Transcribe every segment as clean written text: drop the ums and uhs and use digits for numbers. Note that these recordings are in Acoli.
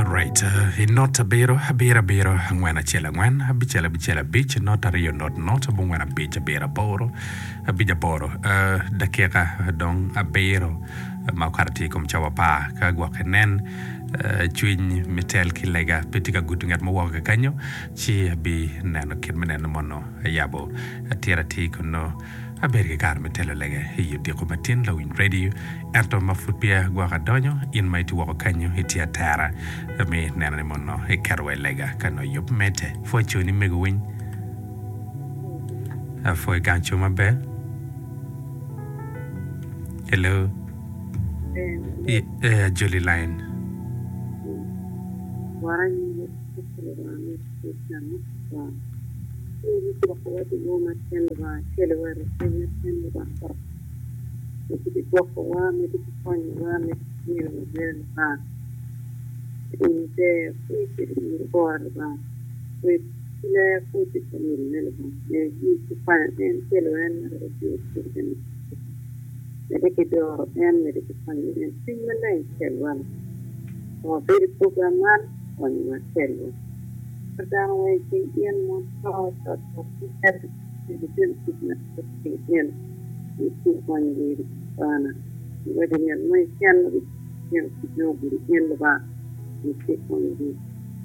Alright, i not abiro, abiro abiro, angwen acel angwen, abicel abicel abic, not aryo not not, abongwen abic abiro aboro, abic aboro. Uh, dakika dong abiro ma okato tye i kom cawa apar ka gwokke nen uh, cwiny me tel ki lega pe tye ka gudo ngat mo woko kakanyo ci abi neno kit me neno mono ayabo atir atir kun nongo Abedo ki kare me telo lega i odiko matin lawiny radio, ento ma pud peya gwok adonyo, in ma itye woko kanyo itye atera me neno ni mono iketo wa i lega ka nongo yub medde. Pwoc coni mego winy. Apwoyo gang co maber. Hello. Eh, ajoli line. Cwiny gwokowa dyewor ma tyen Lubanga celowa i ruk piny ma tyen Lubanga dok medde ki gwokowa, medde ki konyowa, medde ki miyowa bene Lubanga. In iber, pwony tye i nyim kore Lubanga, wek ki ler pwony tye ka mine Lubanga, ber in ki kwanyo en celo en ma dok otiyo kwede me medde ki doro en, medde ki konyo en, Cwiny Maleng celwa Lubanga. Ka wabedo i program man, konyowa celwa. Ka dano weng i cing in mon to cot cot ki cito i litino kic ma tye i cing in, in ci ikonyo weri Lubana. Iwaco ngat mo keken ma litino kic nongo ogudo in Lubanga, in ci ikonyo gi.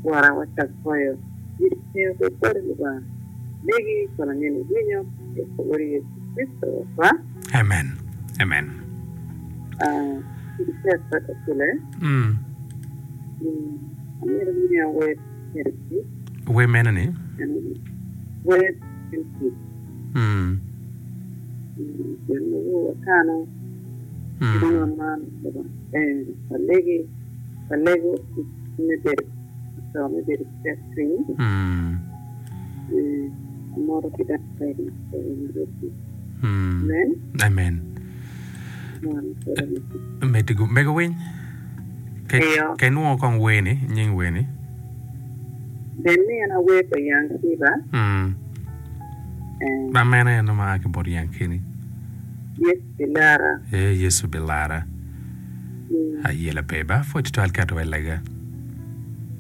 Wora wacak goyo yec pe obed boti Lubanga. Legi kun ange ni iwinyo pi Wodi Yecu Kricito Rwotwa. Amen. Amen. Ah, tek bot Akule. Mm. Mm. Amito miya wer me tic. Wer mene ni? Wer me tic. Mm. Gin ma woo wakano. Mm. Kit man eh, walegi, walego me bedo to me bedo ki tekcwiny. Mm. Eh, amoto ki dano weng ma tye ka winyo redio. Mm. Amen. Amen. Mon kede me tic. Mego mego winy. Eyo. Ka inwongo kong wer-ni, nying wer-ni. Bed ni en awer pa Young Kiba. Mm. Eh. Ma mene eno ma a ki bot Young Kini? Yecu bilara. Eh, Yecu bilara. Mm. Ayela pe ba, pwod tutwal keto wa i lega.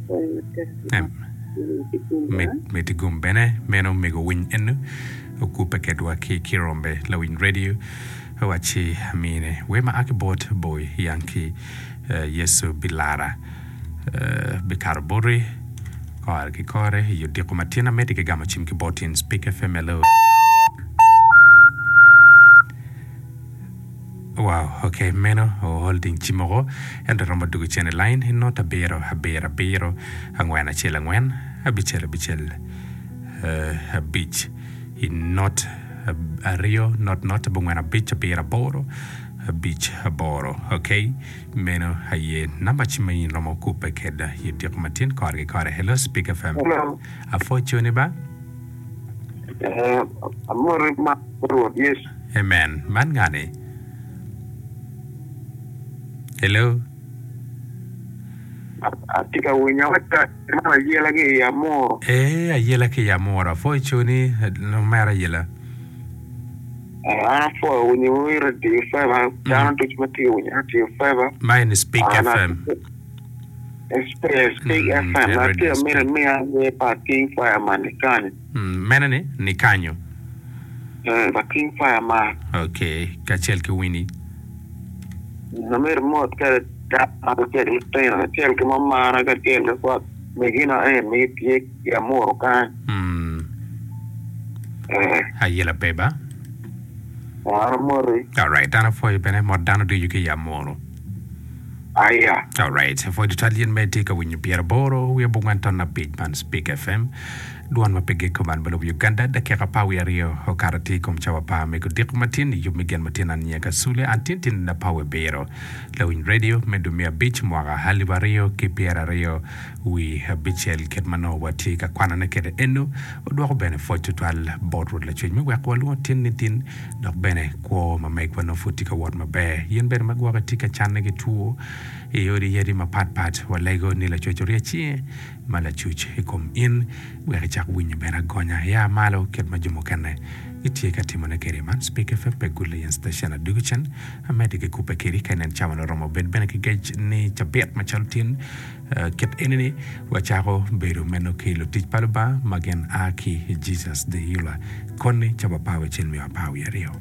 Pwoyo matek. Em. Miti gum ba. Mit, miti gum bene, meno mego winy eno, okubbe kedwa ki Kirombe lawiny radio. Owacci, Amine wer ma a ki bot Boy Yankee, Yecu bilara, bikato boti kore ki kore i odiko ma tyen amedde ki gamo cim ki bot in Speak FM hello. Wow, ok, meno o holding cim oko, ento romo dugo cen i line i not abiro abiro abiro angwen acel angwen abicel abicel abic i not aryo not not abongwen abic abiro aboro abic aboro ok meno aye namba cim ma in romo kubbe keda i odiko matin kore ki kore hello speak fm Hello. apwoco ni ba Eh, amoti ma Rwot Yecu. amen man ngani hello Atye ka winyo ka man ayela ki i Amuru. Ee, ayela ki i Amuru. Apwoyo coni, omera ayela. An apwoyo winyo i Radio Feva, dano ducu ma tye ka winyo Radio Feva. Ma eni Speak FM. Speak FM. Atye ka mito imiya wer pa King Fireman ni kanyo. Mene ni? Ni kanyo. Pa King Fireman. Okay, kacel ki Winnie. Amito mot kede dano kacel ki lutino kacel ki mamana kacel ki kwat megina en ma gitye i Amuru kany. Eh. Ayela pe ba. An amoti. Alright, an apwoyo bene mot dano ducu ki i Amuru. Aya. Alright, apwoyo tutwal in ma itye ka winyo pyeraboro wiye abongwen ton abic man Speak FM. Dwon ma pe giko man me lobo Uganda, dakika apar wiye aryo okato atir i kom cawa apar me kodiko matin i yub me gen matin an nyinga Kasule an tin tin apar wiye abiro lawiny radio me dwe me abic mwaka alip aryo ki pyeraryo wi abicel kit ma nongo watye ka kwanone kwede eno odwoko bene pwoc tutwal bot Rwot Lacwec me weko walwongo tin ni tin dok bene kwo ma megwa nongo pud tye ka wot maber in bene ma gwoki tye ka canne ki two i odi yadi mapat pat walego ni Lacwec orye cinge ma lacuc i kom in wek icak winyo bene agonya ia malo kit ma jo mukene. Gitye ka timone kede man Spik FM pe Good Lion Station adugu cen amedde ki kubbe kedi ka inen cawa ni oromo bed bene ki gec ni cabit macalo tin kit eni ni wacako bedo meno ki lutic pa Lubanga ma gin a ki Jesus the Healer koni cawa apar wiye acel nyo apar wiye aryo.